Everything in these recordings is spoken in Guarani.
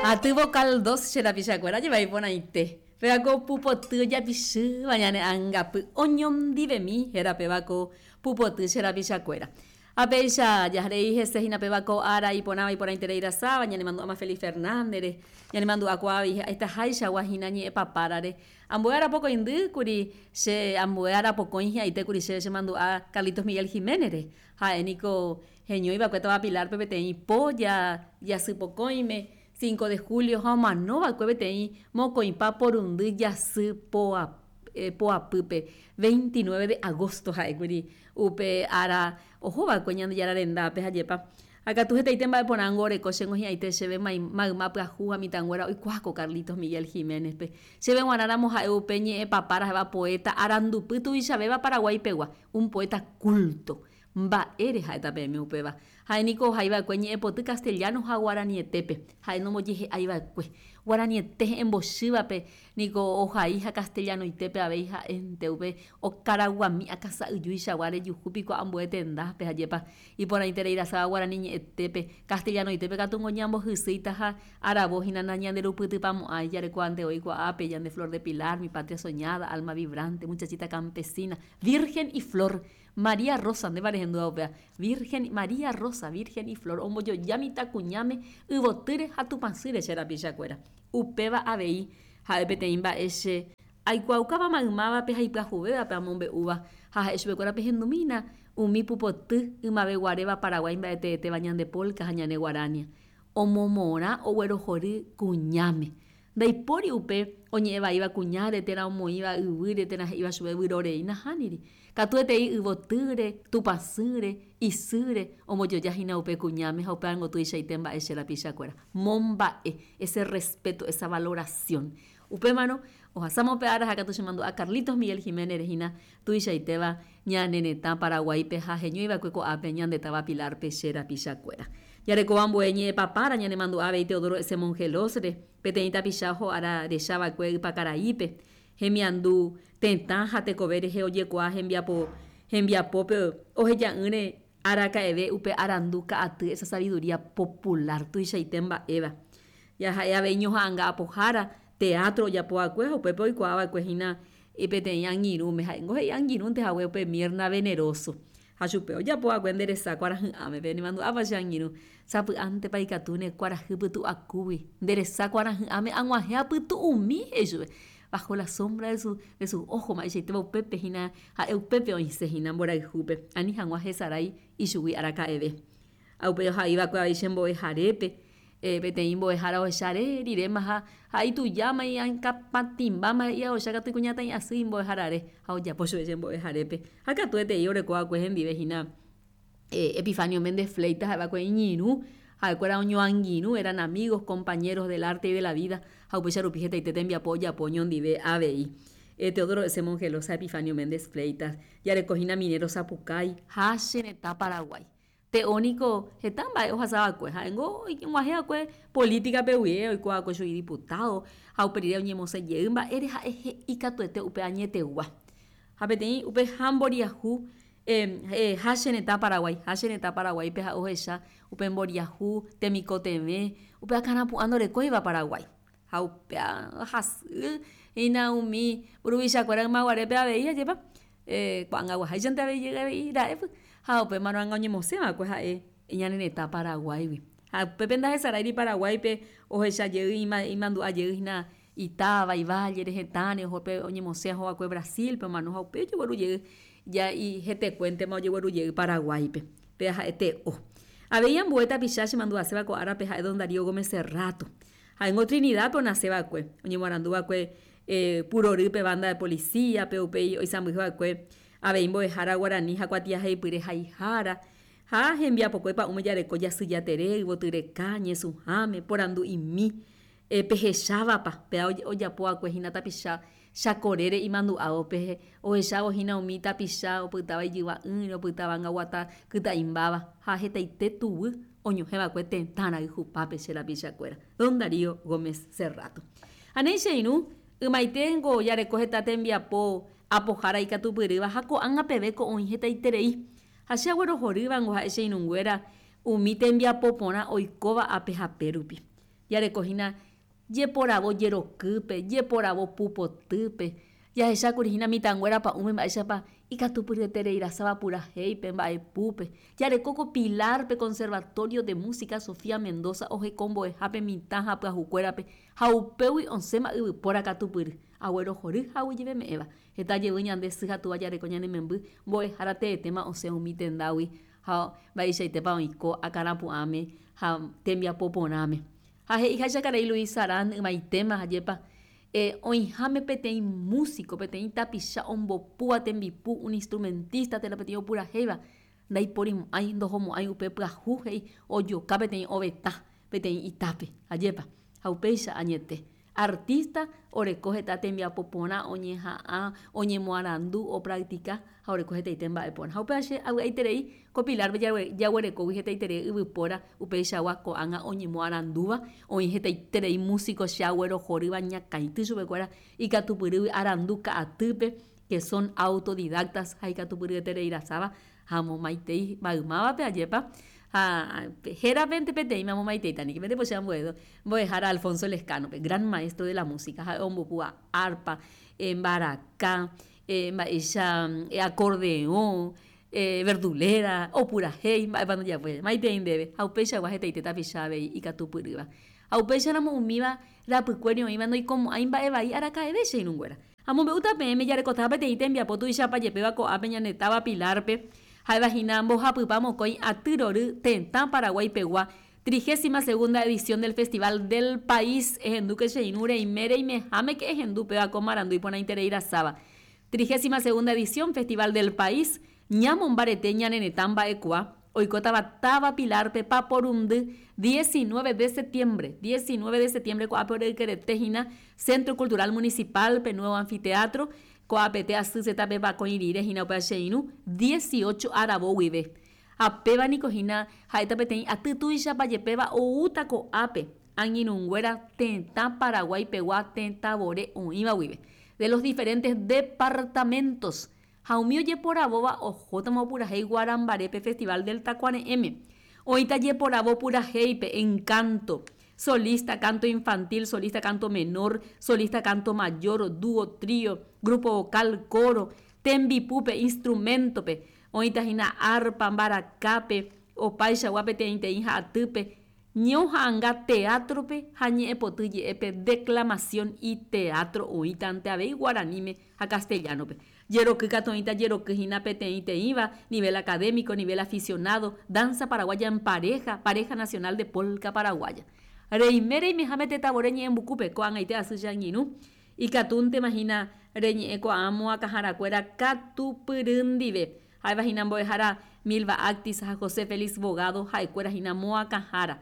Aty vocal dos che rapichakuéra jeva iporãite. Péva ko pupoty ojapichýva ñane angapy oñondivemi héra péva ko pupoty che rapichakuéra. Ha péicha jaharei hese hína péva ko ára iporãva iporãiterei rasáva ñanemandu'áma Félix Fernández-re, ñanemandu'akuaa avei hetaháichagua hína ñe'ẽpapárare. Ambue arapokõindy kuri che ambue arapokõi hi'ãite kuri chéve chemandu'a Carlitos Miguel Giménez-re. Ha'e niko heñói va'ekue táva Pilar-pe peteĩ po jasypokõime, cinco de julio, ha omano va'ekue peteĩ mokõipa porundy jasy poapýpe, 29 de agosto ha'ékuri upe ára oho va'ekue Ñandejára rendápe ha jepa. Ha katu hetaite mba'e porãngo oreko chéngo hi'ãite chéve mayma pyahu ha mitãnguéra oikuaa ko Carlitos Miguel Giménez-pe. Chéve g̃uarã ramo ha'e upe ñe'ẽpapára ha'éva poeta arandupy tuichavéva Paraguái pegua, un poeta culto. Mba'ére ha'éta peẽme upéva? Ha'e niko ohai va'ekue ñe'ẽpoty castellano ha guaranietépe. Ha'e nombojehe'ái va'ekue. Guaraniete he'ẽmbochývape niko ohai ha castellanoitépe avei ha'énte upe okaraguami akãsa'yjúichagua rejuhu piko ambue tendápe ha jepa iporãiterei rasáva guarani ñe'ẽtépe. Castellanoitépe katu ngo ñambohysýita ha aravo hína nañanderupytypamo'ãi jarekuaánte voi kuaápe ñande Flor de Pilar, Mi patria soñada, Alma vibrante, Muchachita campesina, Virgen y flor, María Rosa, ndépa rehendúva upéva? Virgen, María Rosa, Virgen y flor, ombojoja mitãkuñáme yvotýre ha tupãsýre che rapichakuéra. Upéva avei ha'e peteĩ mba'e che aikuaaukáva maymávape ha ipyahuvévape amombe'úva ha ha'e chupekuéra pehendumína umi pupoty ymaveguaréva Paraguái mba'eteetéva ñande polka ha ñane guarania. Omomorã oguerohory kuñáme. Ndaipóri upe oñe'ẽ vaíva kuñáre térã omoĩva yvýre térã he'íva chupe vyrorei, nahániri. Katuetei yvotýre, tupãsýre, isýre ombojoja hína upe kuñáme ha upévango tuichaite mba'e che rapichakuéra. Momba'e, ese respeto, esa valoración. Upémarõ, ohasáma upe ára ha katu chemandu'a Carlitos Miguel Giménez-re hína tuichaitéva ñane retã Paraguáipe ha heñóiva'ekue ko'ápe ñande táva Pilar-pe che rapichakuéra. Jarekóva ambue ñe'ẽpapára ñanemandu'a avei Teodoro S. Mongelós-re, peteĩ tapicha oho ára rechava'ekue Ypakaraípe, hemiandu tetã ha tekove rehe ojekuaa hembiapo hembiapópe oheja'ỹre araka'eve upe arandu ka'aty esa sabiduría popular tuichaite mba'éva. Jaha'e avei ñoha'ãnga apohára teatro ojapova'ekue ha upépe oikuaava'ekue hína peteĩ angirũme, ha'éngo he'i angirũnte hague upe Mirna Veneroso. Ha chupe ojapo va'ekue nde resa kuarahy'ãme, pe nemandu'ápa che angirũ, sapy'ántepa ikatúne kuarahy pytu'akúgui, nde resa kuarahy'ãme ag̃uahẽ apytu'umi, he'i chupe, bajo la sombra de su, de sus ojos, mba'eichaitépa upépe hína, ha'e upépe oĩse hína mborayhúpe, ani hag̃ua hesarái ichugui araka'eve. Ha upéi ohai va'ekue avei che mbo'eharépe, peteĩ mbo'ehára ohecha re riréma ha ha itujáma iñakãpatĩmbáma he'i ohecha katu ikuñataĩ asy imbo'eharare ha ojapo chupe che mbo'eharépe. Ha katuetei oreko va'ekue hendive hína Epifanio Méndez Fleitas ha'e va'ekue iñirũ, ha'ekuéra oñoangirũ, eran amigos, compañeros del arte y de la vida ha upéicha rupi hetaite tembiapo ojapo oñondive avei. Teodoro S. Mongelós ha Epifanio Méndez Fleitas jareko hína Minero Sapukái ha che retã Paraguái. Te'o niko heta mba'e ohasa va'ekue, ha'éngo og̃uahẽ va'ekue política-pe guie, oiko va'ekue chugui diputado, ha upe rire oñemosẽ jey mba'ére ha'e he'i katuete upe añetegua. Ha peteĩ upe ha mboriahu ha che retã Paraguái, ha che retã Paraguáipe ha'e ohecha upe mboriahu temikotevẽ, upe akãrapu'ã ndorekóiva Paraguái. Ha upéva hasy hína umi mburuvichakuéra ymaguarépe avei ajépa ko'ag̃aguaháichante avei jey avei ra'épy ha upémarõ ág̃a oñemosẽ va'ekue ha'e ñane retã Paraguáigui. Ha upépe ndahesaráiri Paraguáipe ohecha jey imandu'a jey hína itáva, ivállere, hetãre oho pe oñemosẽ oho va'ekue Brasilpe omano ha upéi ojegueru jey ja hetekuéntema ojegueru jey Paraguáipe. Péva ha'e te'o. Avei ambue tapicha chemandu'aséva ko árape ha'e don Darío Gómez Serrato. Ha'éngo Trinidad-pe onase va'ekue, oñemoarandu va'ekue purorýpe banda de policía-pe, upéi oisãmbyhy va'ekue avei mbo'ehára guarani ha kuatiahaipyre haihára, ha hembiapokue pa'ũme jareko jasyjatere, yvotyreka, ñesũháme, porandu'imi, pehechávapa, péva ojapo va'ekue hína tapicha chakorére imandu'ávo pe ohechávo hína umi tapicha opytáva ijyva'ỹre, opytáva angaguata kyta'imbáva ha hetaite tuguy oñohẽ va'ekue tetã rayhupápe che rapichakuéra. Don Darío Gómez Serrato. Ha néi che irũ, ymaiténgo jareko heta tembiapo apohára ikatupyrýva ha ko'ág̃a peve ko oĩ hetaiterei. Ha che aguerohorývango ha'e che irũnguéra umi tembiapo porã oikóva ape hape rupi. Jareko hína jeporavo jerokýpe, jeporavo pupotýpe, jahechákuri hína mitãnguéra pa'ũme mba'éichapa ikatupyryetereirasáva purahéipe, mba'epúpe. Jareko ko Pilar-pe Conservatorio de Música Sofía Mendoza ohekombo'ehápe mitã ha pyahukuérape ha upégui osẽma yvypóra katupyry, aguerohory ha aguyjeveme'ẽva. Heta jevy ñande sy ha túva jareko ñane memby mbo'ehára teetéma osẽ umi tendágui ha mba'eichaitépa oiko akãrapu'ãme ha tembiapo porãme. Ha he'iháicha karai Luis Sarán ymaitéma ajépa, oĩháme peteĩ músiko, peteĩ tapicha ombopúva tembipu, un instrumentista térã peteĩ opurahéiva, ndaiporimo'ãi, ndohomo'ãi upe pyahu he'i ojoka peteĩ ovetã peteĩ itápe, ajépa. Ha upéicha añete. Artista oreko heta tembiapo porã oñeha'ã, oñemoarandu, opractica ha oreko hetaite mba'e porã. Ha upéva che avy'aiterei ko Pilar-pe jaguerekógui hetaiterei yvypóra upeichagua ko'ág̃a oñemoarandúva, oĩ hetaiterei músico che aguerohorýva ñakãity chupekuéra ikatupyrýgui arandu ka'atýpe que son autodidactas ha ikatupyryeterei rasáva ha amomaitei maymávape ajépa ha hérapente peteĩme amomaiteita niko pende pochy ambue mbo'ehára Alfonso Lezcano-pe, gran maestro de la música ha'e ombopúva arpa, mbaraka, mba'éicha acordeõ, verdulera, opurahéi, mba'épa ndojapói, maitei ndéve ha upeichagua hetaite tapicha avei ikatupyrýva. Ha upéicharamo umíva rapykuéri oĩva ndoikomo'ãi mba'e vai araka'eve che irũnguéra. Amombe'úta peẽme jarekotaha peteĩ tembiapo tuichapa jepéva ko'ápe ñane táva Pilar-pe, ha'éva hína mbohapypa mokõi aty rory tetã Paraguái pegua, Trigésima segunda edición del Festival del País, ehendúke che irũ reime reimehámeke ehendu péva ko marandu iporãiterei rasáva. Trigésima segunda edición Festival del País, ñamombarete ñane retã mba'ekuaa, oikótava táva Pilar-pe paporundy 19 de septiembre, 19 de septiembre ko'ápe ore'ykerete hína Centro Cultural Municipal-pe Nuevo Anfiteatro, ko'ápete asy zeta-pe pakõi rire hína upéva che irũ, 18 aravo guive. Ha péva niko hína ha'éta peteĩ aty tuichapa jepéva oúta ko'ápe angirũnguéra tetã Paraguái pegua tetãvore oĩva guive, de los diferentes departamentos, ha umi ojeporavóva ohótama opurahéi Guarambarépe Festival del Takuare'ẽme. Oĩta jeporavo purahéipe, encanto, solista canto infantil, solista canto menor, solista canto mayor, dúo, trío, grupo vocal, coro, tembipúpe, instrumento-pe, oĩta hína arpa, mbarakápe, opaichagua peteĩteĩ ha atýpe, Ñoha'ãnga teatro-pe ha ñe'ẽpoty je'épe declamación y teatro oĩtante avei guaraníme ha castellano-pe. Jeroky katu oĩta jeroky hína peteĩteĩva nivel académico, nivel aficionado, danza paraguaya en pareja, pareja nacional de polca paraguaya. Reime reimeháme tetãvore ñe'ẽmbukúpe, ko'ag̃aite asy che angirũ, ikatúntema hína reñe'ẽ ko'ã moakãharakuéra katupyry ndive. Ha'éva hína mbo'ehára Milva Actis ha José Félix Bogado ha'ekuéra hína moakãhára.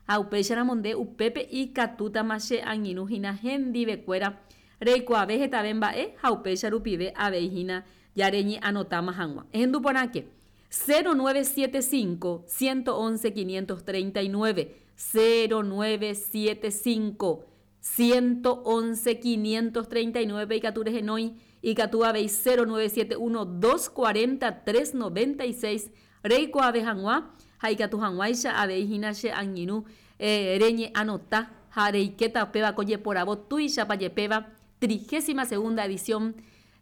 Ha upéicharamo nde upépe ikatútama che angirũ hína hendivekuéra reikuaave hetave mba'e ha upéicha rupive avei hína ja reñe'anotáma hag̃ua. Ehendu porãke, 0975 111 539, 0975 111 539 pe ikatu rehenói, ikatu avei 0971 240 396 reikuaave hag̃ua ha ikatu hag̃uáicha avei hína che angirũ reñe'anota ha reikéta upéva ko jeporavo tuichapa jepéva trigésima segunda edición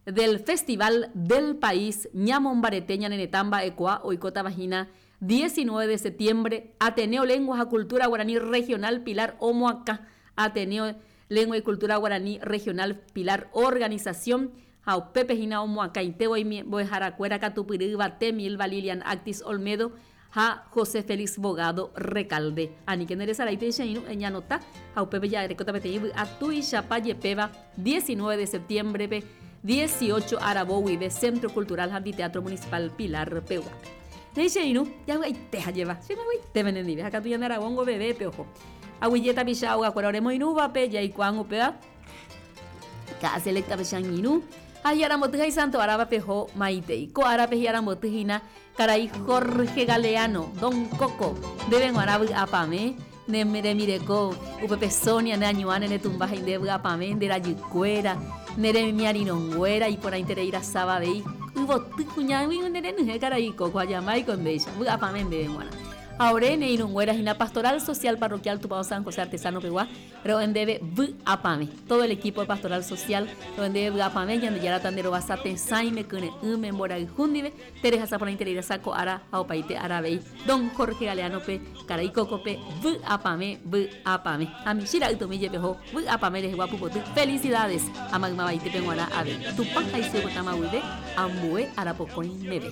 del Festival del País ñamombarete ñane retã mba'ekuaa oikótava hína 19 de septiembre, Ateneo Lengua ha Cultura Guaraní Regional Pilar omoakã Ateneo Lengua y Cultura Guaraní Regional Pilar Organización ha upépe hína omoakãite voi mbo'eharakuéra katupyry yvate Milva Lilian Actis Olmedo ha José Félix Bogado Recalde. Aníke nderesarái péicha irũ eñanota ha upépe jarekóta peteĩ vy'a tuichapa jepéva 19 de septiembre-pe 18 aravo guive Centro Cultural ha Anfiteatro Municipal Pilar peguápe. Néi che irũ, javy'aite ha jeva, che vy'aite penendive ha katu ñande aravóngo vevépe oho. Aguyje tapicha ogakuéra oremoirũvape jaikuaág̃ upéva Ka'a selecta pe che angirũ ha hi'aramboty ha isanto árava peho maitei. Ko árape hi'aramboty hína karai Jorge Galeano, Don Coco, ndéve g̃uarã vy'apavẽ, ne rembireko upépe Sonia ne añuã ne retumba ha inde vy'apavẽ nde rajykuéra, ne remiarirõnguéra iporãiterei rasáva avei yvoty kuñágui nde renyhẽ karai Coco ha jamáiko ndéicha, vy'apavẽ ndéve g̃uarã. Ha ore ne irũnguéra hína Pastoral Social Parroquial Tupão San José Artesano pegua, ro'e ndéve vy'apavẽ. Todo el equipo de Pastoral Social ro'e ndéve vy'apavẽ, Ñandejára tanderovasa tesãime, kyre'ỹme, mborayhu ndive, terehasa porãiterei rasa ko ára ha opaite ára avei. Don Jorge Galeano-pe, karai Coco-pe, vy'apavẽ, vy'apavẽ. Ha michĩ ra'ytomi jepe oho vy'apavẽ rehegua pupoty. Felicidades! Ha maymavaite peg̃uarã avei. Tupã ha isy opytáma guive ambue arapokõi meve.